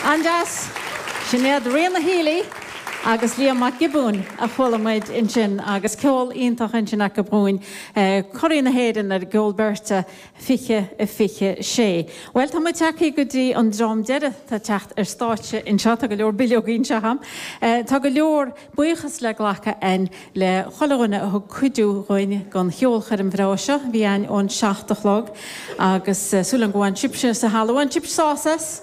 An-deas. Sin iad Ríona Healy agus Liam Mac Giobúin a chuala muid ansin agus ceol iontach ansin acu dhúinn, Curaidh na hÉireann ar an gceol beirte 20 26. Bhuel, tá muid tagtha go dtí an dream deiridh atá ag teacht ar stáitse anseo. Tá go leor bileogaí anseo agam. Tá go leor buíochas le glacadh a'inn le chuile dhuine a thug cuidiú dhuinn don cheolchoirm bhreá seo a bhí a'inn ón seacht a chlog agus súil agam go bhain sibhse sa halla, bhain sibh sásamh as?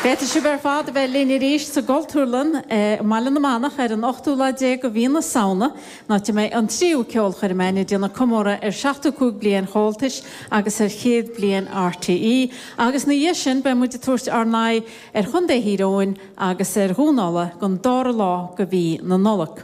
Féadfaidh sibh ar fad a bheith linn arís sa gCultúrlann i mBaile na Manach ar an ochtú lá déag de mhí na Samhna, an áit a mbeidh an tríú ceolchoirm a'inn ag déanamh comóradh ar 75 bliain Chomhaltais agus ar chéad bliain RTÉ agus ina dhiaidh sin beidh muid ag tabhairt ár n-aghaidh ar Chontae Thír Eoghain agus ar Dhún Uladh don dara lá de mhí na Nollag.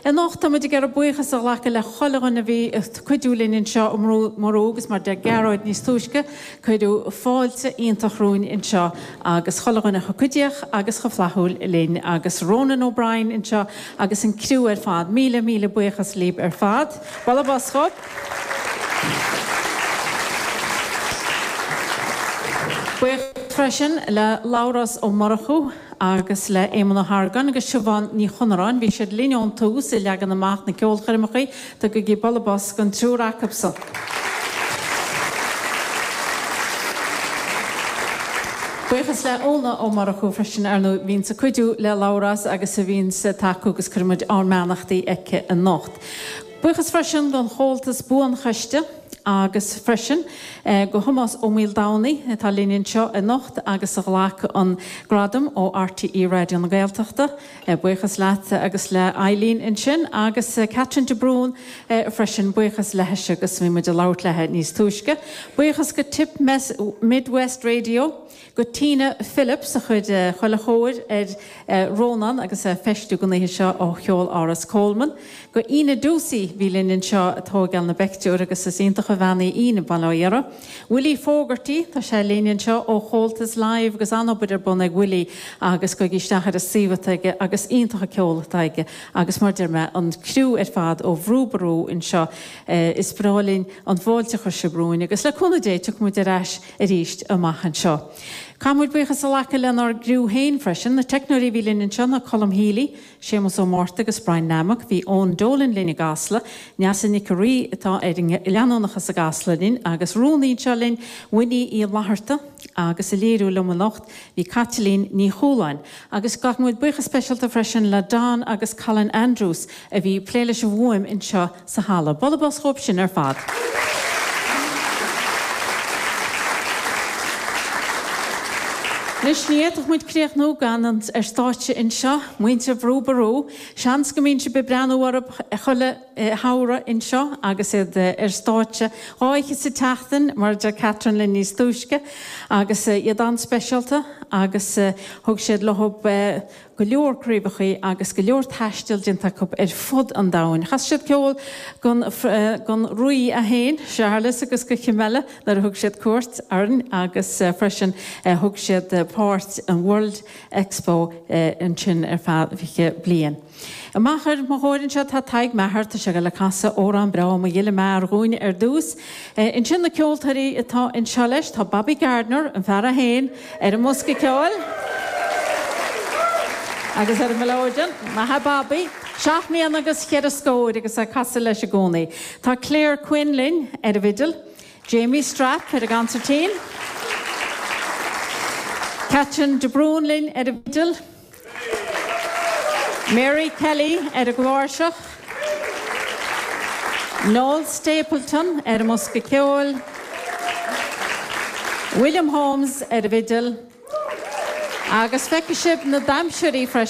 Anocht tá muid ag iarraidh buíochas a ghlacadh le chuile dhuine a bhí ag cuidiú linn anseo i mBrú Ború agus mar deir Gearóid níos túisce, cuireadh fáilte iontach romhainn anseo agus chuile dhuine chomh cuidíoch agus chomh flaithiúil linn agus Ronan O'Brien anseo agus an criú ar fad. Míle, míle buíochas libh ar fad. Bualadh bos dhóibh. Buíochas freisin le Labhrás Ó Murchú agus le Éamonn Ó hArgáin agus Siobhán Ní Chonaráin. Bhí siad linn ón tús ag leagan amach na ceolchoirmeacha. Tugaigí bualadh bos don triúr acubsan. Buíochas le Úna Ó Murchú freisin, ar ndóigh, a bhíonns ag cuidiú le Labhrás agus a bhíonns ag tacú agus cuireann muid ár mbeannachtaí aici anocht. Buíochas freisin don Chomhaltas Buanchoiste agus freisin go Thomás Ó Maoldomhnaigh atá linn anseo anocht agus a ghlac an gradam ó RTÉ Raidió na Gaeltachta. Buíochas leat agus le Eileen ansin agus Catherine de Brún freisin, buíochas leithise agus bhí muid ag labhairt léi níos túisce. Buíochas go Tipp Midwest Radio, go Tina Phillips a chuir chuile chóir ar Rónán agus é ag feistiú don oíche seo ó Cheoláras Coleman, go Ina Doocey bhí linn anseo ag tóigeáil na bpeictiúr agus is iontach an bhean í Ina, bail ó Dhia uirthi. Willie Fogarty, tá sé linn anseo ó Chomhaltas Live agus an-obair ar bun ag Willie agus gabhaigí isteach ar an suíomh atá aige agus iontach an ceol atá aige agus mar deir mé an criú ar fad ó Bhrú Ború anseo is breá linn an fáilte a chuir sibh romhainn agus le cúnamh Dé tiocfaidh muid ar ais arís amach anseo. Caithfidh muid buíochas a ghlacadh lenár gcriú féin freisin, na teicneoirí a bhí linn anseo ná Colm Healy, Séamus Ó Márta agus Brian Nammock, bhí Eoin Dolan linn i gCasla, Neasa Nic a Rí atá ar an leanúnachas i gCasla linn agus rúnaí anseo linn, Winnie Uí Fhlatharta agus ag léiriú liom anocht bhí Caitlín Ní Chualáin. Agus glacann muid buíochas speisialta freisin le Don agus Colin Andrews a bhí ag plé leis an bhfuaim anseo sa halla. Bualadh bos dhóibh sin ar fad. Anois, ní fhéadfadh muid críochnú gan an ar stáitse anseo, muintir Bhrú Ború. Seans go mbíonn sibh ag breathnú orthu chuile shamhradh anseo agus iad ar stáitse dhá oíche sa tseachtain, mar a deir Catherine linn níos túisce, agus iad an-speisialta agus thug siad leo go leor craobhachaí agus go leor taistil déanta acu ar fud an domhain. Chas siad ceol don don Rí é féin, Séarlas agus go cinn eile nuair a thug siad cuairt orainn agus freisin thug siad páirt in World Expo ansin ar feadh 20 bliain. Amach ar mo chomhair anseo tá Tadhg Maher, tá sé ag dul ag casadh amhrán breá Mo Ghile Mear dhúinn ar dtús. Ansin na ceoltóirí atá anseo leis, tá Bobby Gardiner, an fear é féin, ar an mbosca ceoil agus ar an mileoidean. Maith a Bobby! Seacht mbliana agus cheithre scóir agus é ag casadh leis i gcónaí. Tá Claire Quinn linn ar an bhfidil, Jamie Strapp ar an gconsairtín, Catherine de Brún linn ar an bhfidil, Mary Kelly ar an gcláirseach, Noel Stapleton ar an mbosca ceoil, William Holmes ar an bhfidil agus feicfidh sibh na damhsóirí freisin.